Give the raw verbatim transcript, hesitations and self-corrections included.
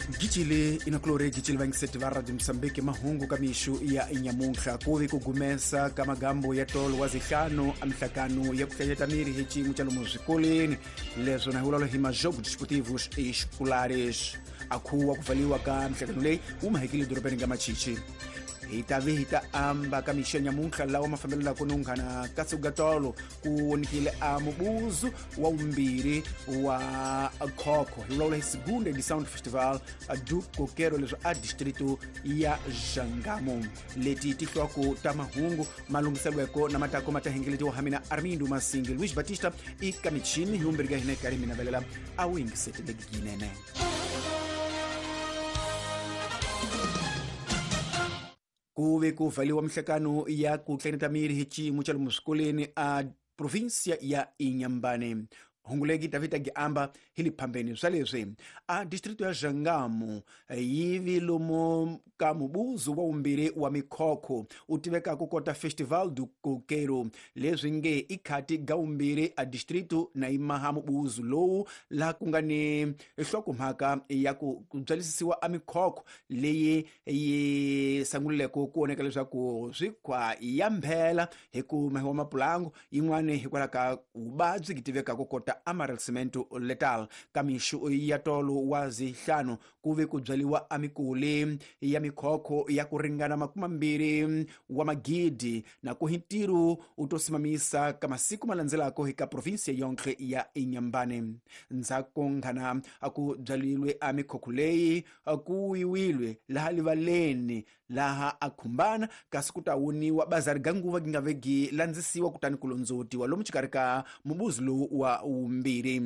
Gicile inakulore gicile vangiseti va Radio Mosambiki mahungu ka mixu ya nyamuntlha ku vi ku gumesa ka magambo ya tolo wa zihlanu a mihlakano ya ku hlanyeta miri hi xiyimo xa lomu swikolweni leswo na hi vulavula hi majogo desportivos escolares a khuwa ku pfaliwa ka mihlakano leyi wu mahekile dorobeni nga machichi hi ta vi hi ta amba ka mixo ya nyamuntlha lawa mafambelelako no nghana ka siku ga tolo ku wonikile a mubuzu wa vumbirhi wa khokho hi vulavula hi segunda edição do festival do coqueiro leswi a distrito ya Jangamo leti ti hlwaku ta mahungu malunghiselweko na matako ma ta hengeletiwa ha mina Armindo Masingi Luis Batista i ka michini hi vumbirhi ka hina hi karhi mi navelela a wu yingiseteleki yinene. Ku ve ku vhaliwa mihlakano ya ku tleneta miri hi xiyimo xa lomu swikolweni a provinsia ya Inhambane. Hunguleki Davida Giamba hi le phambeni swa leswi a distrito ya Jangamo yi vi lomu ka mubuzu wa vumbirhi wa mikhokho u tiveka ku kota Festival do Coqueiro leswi nge i khati ga vumbirhi a distrito na yimaha mubuzu lowu laha ku nga ni nhlokomhaka ya ku byalisisiwa a mikhokho leyi yi sangulileko ku voneka leswaku swikhwa ya mphela hi ku mahiwa mapulangu yin'wani hikwalaho ka vuvabyi byi tiveka ku kota amarel cemento letal ka mixu ya tolo wa zihlanu ku ve ku byaliwa a mikuli ya mikhokho ya ku ringana makumambirhi wa magidi na ku hi ntirho u to simamisa ka masiku ma landzelako hi ka provinsia yonkhe ya Inhambane. Ndzhaku nghana a ku byalilwe a mikhokho leyi ku yiwilwe laha livaleni laha a khumbana kasi ku ta woniwa bazari ga nguva gi nga ve gi landzisiwa kutani ku londzotiwa lomu xikarhi ka mubuzi lowu wa wumbirhi.